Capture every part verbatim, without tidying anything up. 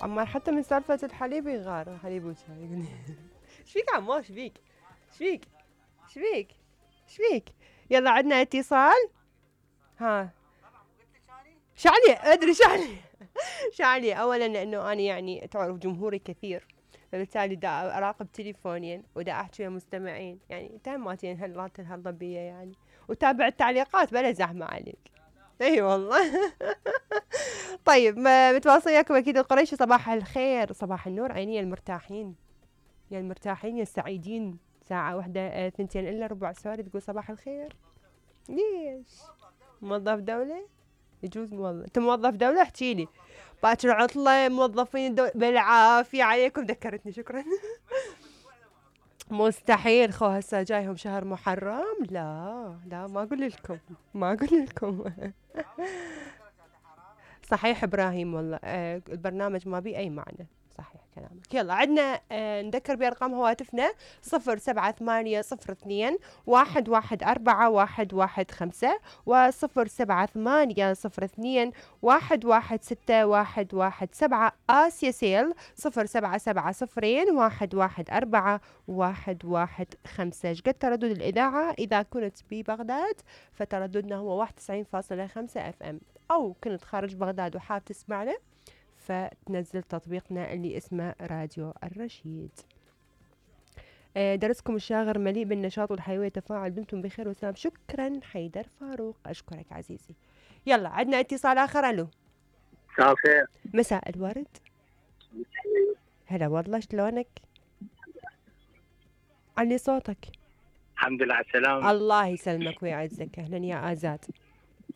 عمار حتى من سالفة الحليب يغار، حليب وشاي يقول ايش فيك عمار؟ ايش فيك؟ ايش فيك؟ ايش فيك؟ ايش فيك؟ يلا عندنا اتصال. ها شعلي ادري شعلي شعلي اولا لانه انا يعني تعرف جمهوري كثير، فبالتالي دا اراقب تليفونين ودا احكي ويا مستمعين، يعني تهماتين هالات الهالضبيه يعني، وتابع التعليقات بلا زحمه عليك. اي والله. طيب متواصل وياكم اكيد القريشي. صباح الخير صباح النور عيني المرتاحين، يا المرتاحين يا السعيدين. ساعة واحدة ثنتين الا ربع سوري تقول صباح الخير. ليش؟ موظف دولة؟ يجوز موظف. انت موظف دولة؟ احكي لي. باكر عطلة موظفين الدولة بالعافية عليكم. ذكرتني شكرا. مستحيل خو هسه جايهم شهر محرم. لا لا ما اقول لكم ما اقول لكم. صحيح ابراهيم والله آه البرنامج ما بيه اي معنى. صحيح كلامك. يلا عندنا آه نذكر بارقام هواتفنا صفر سبعة ثمانية صفر اثنين واحد واحد أربعة واحد واحد خمسة وصفر سبعة ثمانية صفر اثنين واحد واحد ستة واحد واحد سبعة. آسيا سيل صفر سبعة سبعة صفرين واحد واحد أربعة واحد واحد خمسة. شقد تردد الإذاعة؟ إذا كنت ببغداد فترددنا هو واحد وتسعين فاصلة خمسة اف ام، أو كنت خارج بغداد وحاب تسمعنا فتنزل تطبيقنا اللي اسمه راديو الرشيد. درسكم الشاغر مليء بالنشاط والحيوية والتفاعل. دمتم بخير وسلام. شكرا حيدر فاروق. أشكرك عزيزي. يلا عندنا اتصال آخر. ألو مساء الخير. مساء الورد. هلا والله شلونك؟ علي صوتك. الحمد لله على السلامة. الله يسلمك ويعزك. أهلا يا آزاد.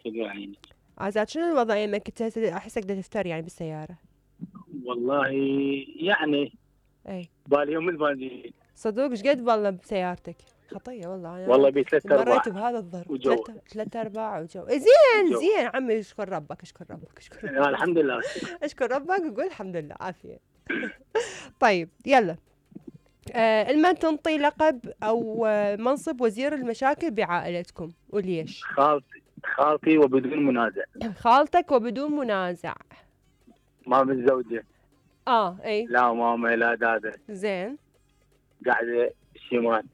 شكرا. آزاد شنو الوضع يمك؟ كنت أحسك بدك تفتر يعني بالسيارة. والله يعني اي بالي يوم البنزين صدوق. ايش قد والله بسيارتك؟ خطيه والله. انا والله بثلاث ارباع مريت بهذا الظرف. وجو ثلاث ارباع وجو. زين وجو. زين عمي اشكر ربك اشكر ربك اشكر ربك. الحمد لله اشكر ربك وقول الحمد لله عافيه. طيب يلا آه لمن تنطي لقب او آه منصب وزير المشاكل بعائلتكم وليش؟ خالتي خالتي وبدون منازع. خالتك وبدون منازع. ما متزوجة. اه اي لا ماما لا دادا. زين قاعدة شمال.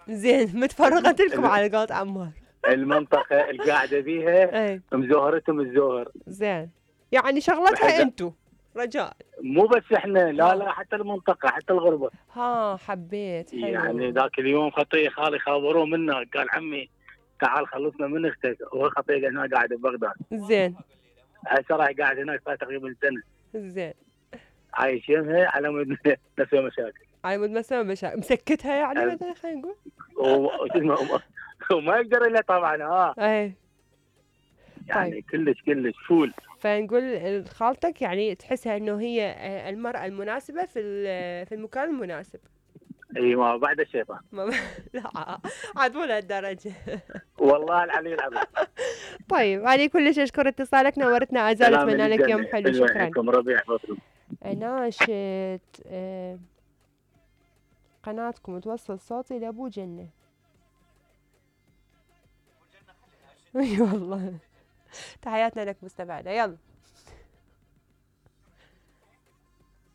زين متفرغت لكم على قولة عمار. المنطقة اللي قاعدة بيها اي مزوهرتهم الزوهر. زين يعني شغلتها انتو رجاء. مو بس احنا لا لا حتى المنطقة حتى الغربة. ها حبيت حلو. يعني ذاك اليوم خطية خالي خابروه منه قال عمي تعال خلصنا من اختك. هو خطية هنا قاعدة ببغداد. زين هسه راح قاعد هناك صار تقريبا سنة. زين عايش يمها على مود نسوي مشاكل. على مود مسوي مشاكل مسكتها يعني أه. مثلا خلينا نقول. وما وما يقدر الا طبعا ها. اي يعني طيب. كلش كلش فول. فنقول خالتك يعني تحسها انه هي المرأة المناسبة في في المكان المناسب. اي ما بعد الشيطان. ما لا عاد مو لهالدرجة. والله العلي العظيم. طيب علي كلش اشكر اتصالك نورتنا ازال. اتمنى لك يوم حلو. شكرا. ربيع فضل. ناشد آه قناتكم توصل صوتي لابو جنة. اي والله. تحياتنا لك مستمعنا. يلا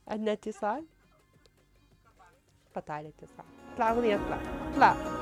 عندنا اتصال. قطع الاتصال. اطلع اغنية اطلع اطلع.